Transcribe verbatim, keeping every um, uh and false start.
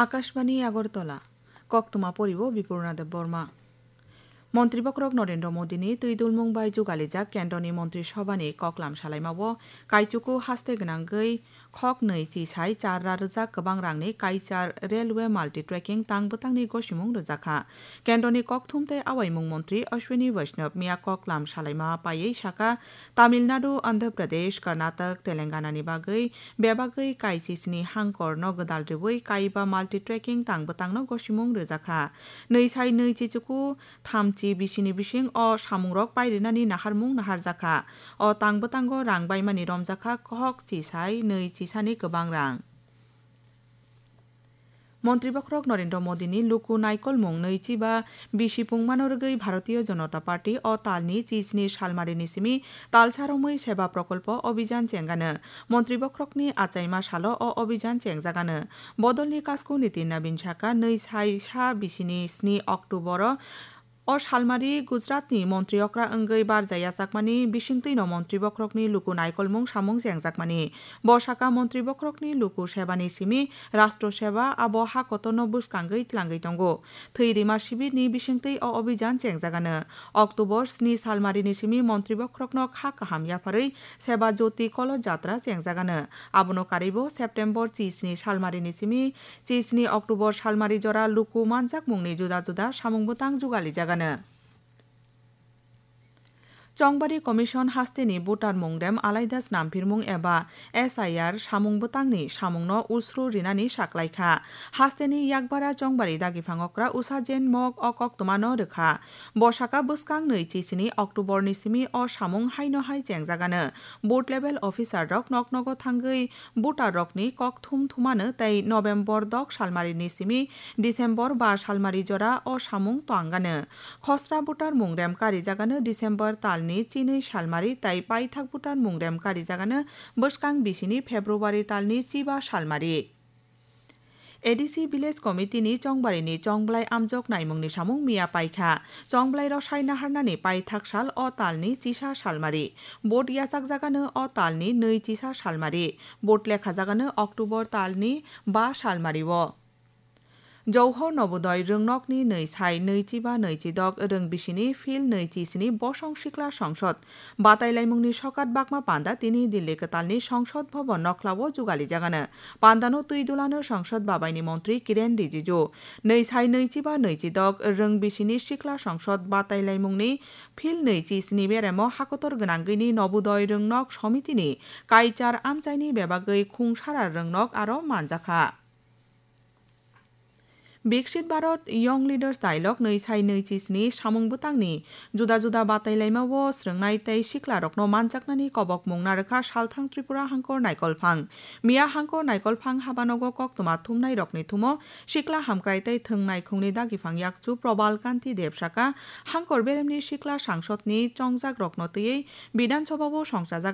Akashbani Agartala, koktwma poribo Bipurna Debbarma. Montri bokhorok Narendra Modini twi dulmung bai jugalijak Kendroni Montri Sabhani koklam salaimao kaichuku haste gwnangwi khok nwi chisai char ra rwjak kwbang rangni Kaichar Railway Multi Tracking tang bwtangni gosimung rwjakha. Kendroni kokthum tei awaimung montri Ashwini Vaishnaw miya koklam salaima paiwi sakha, Tamil Nadu, Andhra Pradesh, Karnataka, Telangana ni bagwi bebagwi kaichisni hangkorno gwdal rwui kaiba multi tracking tang bwtangno gosimung rwjakha. Nwi sai nwi chichuku thamchi bisini bising o samungrok pairinani naharmung naharjakha. O tang bwtango rang baimani romjakha khok chisai nwi chisani kwbang rang. Montri bokhorok Narendra Modini luku naikolmung nwi chiba bisi pungmano rwgwi Bharatiya Janata Party o talni chisni salmarini simi talsa romwi Seva Prokolpo Abhijan chenggano. Montri bokhorokni achaima salo o Abhijan chengjagano. Bodolni kasku Nitin Nabin sakha, nwi sai sa bisini sni October o O salmari Gujaratni montri okra wngwi barja yachakmani bisingtwino montri bokhorokni luku naikolmung samung chengjakmani. Bo sakha montri bokhorokni luku sebani simi Rastro Seba abo ha kotorno bwskangwi tlangwi tongo. Thwi rima sibirni bisingtwi o obijan chengjagano. October sni salmarini simi montri bokhorokno kha kaham yapharwi Seba Jyoti Kolo Jatra chengjagano. Abono karwibo September chisni salmarini simi chisni October salmari jora luku manjakmungni juda juda samung bwtang jugalijagano. Chongbari Commission hasteni voter mungrem alaida snamphirmung eba S I R samung bwtangni samungno usru rinani saklaikha. Hasteni yakbara Chongbari dagiphango kra Usha Jain mok o koktwmano rwkha. Bo sakha bwskang nwi chisini October ni simi o samung haino hai chengjagano. Booth level officer rok nok nogo thangwi voter rokni kok thum thumano tei November dok salmari ni simi December ba salmari jora o samung twangano. Khosra voter mungrem karijagano December talni chinwi salmari tei paithak voter mungrem karijagano bwskang bisini February talni chiba salmari. A D C Village Committee ni Chongbarini chongblai amjok naimungni samung miya paikha. Chongblai rosai naharnani paithak sal o talni chisa salmari. Vote yachakjagano o talni nwi chisa salmari. Vote lekhajagano October talni ba salmari o. Jouho Nobodoi rwngnokni nwi sai nwi chiba nwi chidok rwng bisini phil nwi chisini bosong sikla songsod Batailaimungni sokat bakma panda tini Delhi kwtalni Songsod Bhaban nokhlao jugalijagano. Pandano twi dulano Songsod babaini montri Kiren Rijiju. Nwi sai nwi chiba nwi chidok rwng bisini sikla Songsod Batailaimungni phil nwi chisni beremo hakotor gwnangwini Nobodoi rwngnok somitini kaichar amchaini bebagwi khungsara rwngnok aro manjakha. Viksit Bharat Young Leaders Dialogue nwi sai nwi chisni samung bwtangni juda juda batailaimao srwngnai tei siklarokno manjaknani kobokmung narwkha Salthang Tripura Hangkor Naikolphang. Miya Hangkor Naikolphang habanogo koktwma thumnairokni thumo sikla hamkrai tei thwng naikhungni dagiphang yakchu Probal Kanti Deb sakha, Hangkor beremni sikla sangsodni chongjakrokno twiwi Bidhan Sabhao songchajak